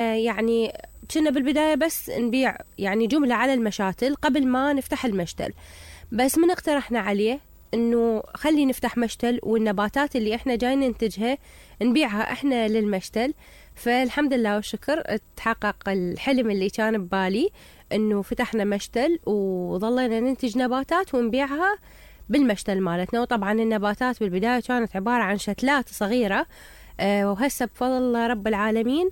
يعني كنا بالبداية بس نبيع يعني جملة على المشاتل قبل ما نفتح المشتل، بس من اقترحنا عليه انه خلي نفتح مشتل والنباتات اللي احنا جاي ننتجها نبيعها احنا للمشتل. فالحمد لله والشكر تحقق الحلم اللي كان ببالي، انه فتحنا مشتل وظلينا ننتج نباتات ونبيعها بالمشتل مالتنا. وطبعا النباتات بالبداية كانت عبارة عن شتلات صغيرة، وهسه بفضل رب العالمين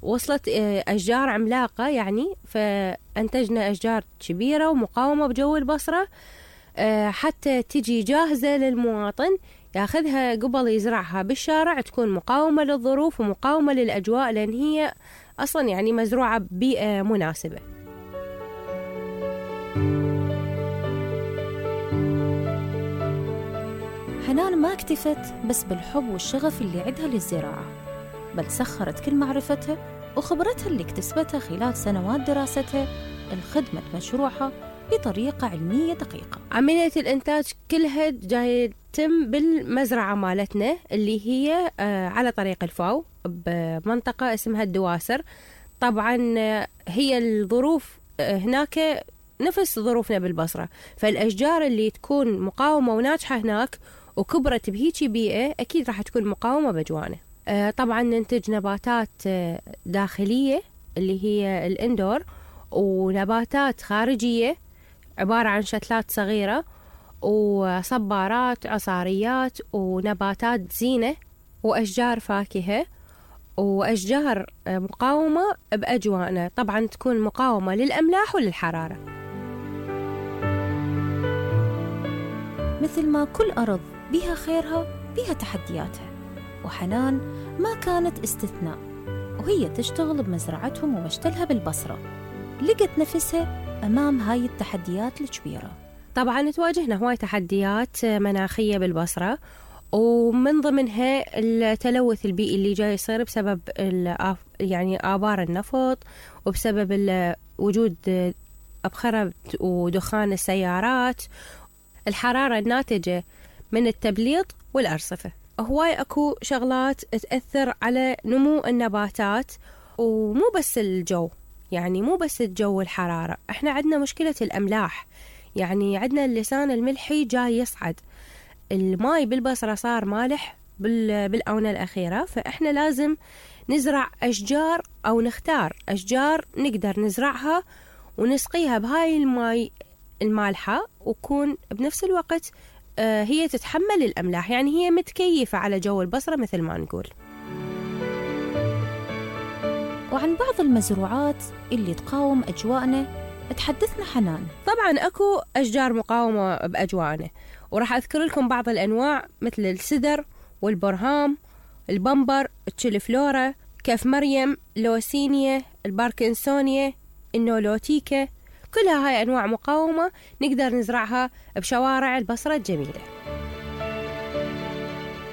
وصلت أشجار عملاقة يعني، فأنتجنا أشجار كبيرة ومقاومة بجو البصرة، حتى تجي جاهزة للمواطن ياخذها قبل يزرعها بالشارع، تكون مقاومة للظروف ومقاومة للأجواء، لأن هي أصلا يعني مزروعة ببيئة مناسبة. حنان ما اكتفت بس بالحب والشغف اللي عندها للزراعة، بل سخرت كل معرفتها وخبرتها اللي اكتسبتها خلال سنوات دراستها لخدمة مشروعها بطريقة علمية دقيقة. عملية الإنتاج كلها جاي تم بالمزرعة مالتنا اللي هي على طريق الفاو بمنطقة اسمها الدواسر. طبعا هي الظروف هناك نفس ظروفنا بالبصرة، فالأشجار اللي تكون مقاومة وناجحة هناك وكبرت بهيجي بيئة أكيد راح تكون مقاومة بجوانه. طبعا ننتج نباتات داخلية اللي هي الإندور، ونباتات خارجية عبارة عن شتلات صغيرة وصبارات عصاريات ونباتات زينة وأشجار فاكهة وأشجار مقاومة بأجواءنا، طبعا تكون مقاومة للأملاح وللحرارة. مثل ما كل أرض بيها خيرها بيها تحدياتها، وحنان ما كانت استثناء، وهي تشتغل بمزرعتهم ومشتلها بالبصرة لقت نفسها أمام هاي التحديات الكبيرة. طبعا تواجهنا هواي تحديات مناخية بالبصرة، ومن ضمنها التلوث البيئي اللي جاي يصير بسبب يعني آبار النفط، وبسبب وجود أبخرة ودخان السيارات، الحرارة الناتجة من التبليط والأرصفة. هواي أكو شغلات تأثر على نمو النباتات، ومو بس الجو، يعني مو بس الجو والحرارة، احنا عندنا مشكلة الأملاح، يعني عندنا اللسان الملحي جاي يصعد، الماي بالبصرة صار مالح بالآونة الأخيرة، فإحنا لازم نزرع أشجار أو نختار أشجار نقدر نزرعها ونسقيها بهاي الماي المالحة، وكون بنفس الوقت هي تتحمل الأملاح، يعني هي متكيفة على جو البصرة مثل ما نقول. وعن بعض المزروعات اللي تقاوم أجواءنا تحدثنا حنان. طبعا أكو أشجار مقاومة بأجواءنا، وراح أذكر لكم بعض الأنواع مثل السدر والبرهام، البمبر، التشيلفلورا، كف مريم، لوسينيا، الباركنسونيا، النولوتيكا، كلها هاي أنواع مقاومة نقدر نزرعها بشوارع البصرة الجميلة.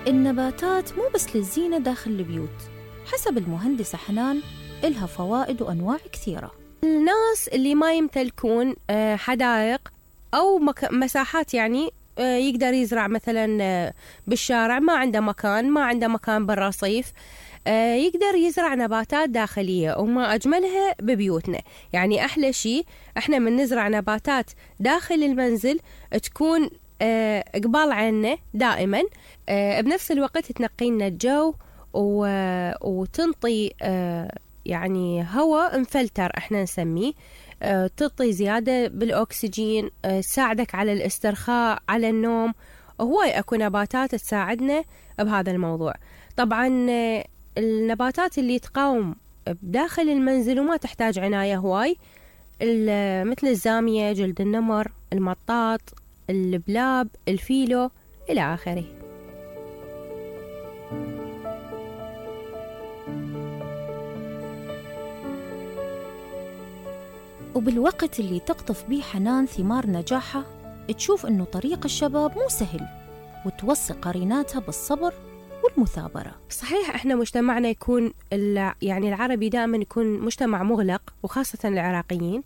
النباتات مو بس للزينة داخل البيوت، حسب المهندسة حنان إلها فوائد وأنواع كثيرة. الناس اللي ما يمتلكون حدائق أو مساحات يعني يقدر يزرع مثلا بالشارع، ما عنده مكان بالرصيف، يقدر يزرع نباتات داخلية، وما أجملها ببيوتنا. يعني أحلى شيء إحنا من نزرع نباتات داخل المنزل تكون قبال عنا دائما، بنفس الوقت تنقينا الجو وتنطي يعني هواء مفلتر احنا نسميه، تعطي زيادة بالأكسجين، تساعدك على الاسترخاء، على النوم. هواي أكو نباتات تساعدنا بهذا الموضوع. طبعا النباتات اللي تقاوم بداخل المنزل وما تحتاج عناية هواي، مثل الزامية، جلد النمر، المطاط، البلاب، الفيلو إلى آخره. وبالوقت اللي تقطف بيه حنان ثمار نجاحها، تشوف إنه طريق الشباب مو سهل، وتوصي قريناتها بالصبر والمثابرة. صحيح احنا مجتمعنا يكون يعني العربي دائما يكون مجتمع مغلق، وخاصة العراقيين،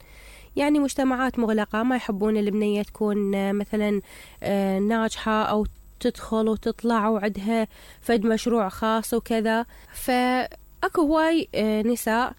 يعني مجتمعات مغلقة، ما يحبون البنية تكون مثلا ناجحة أو تدخل وتطلع وعدها فد مشروع خاص وكذا. فأكو هواي نساء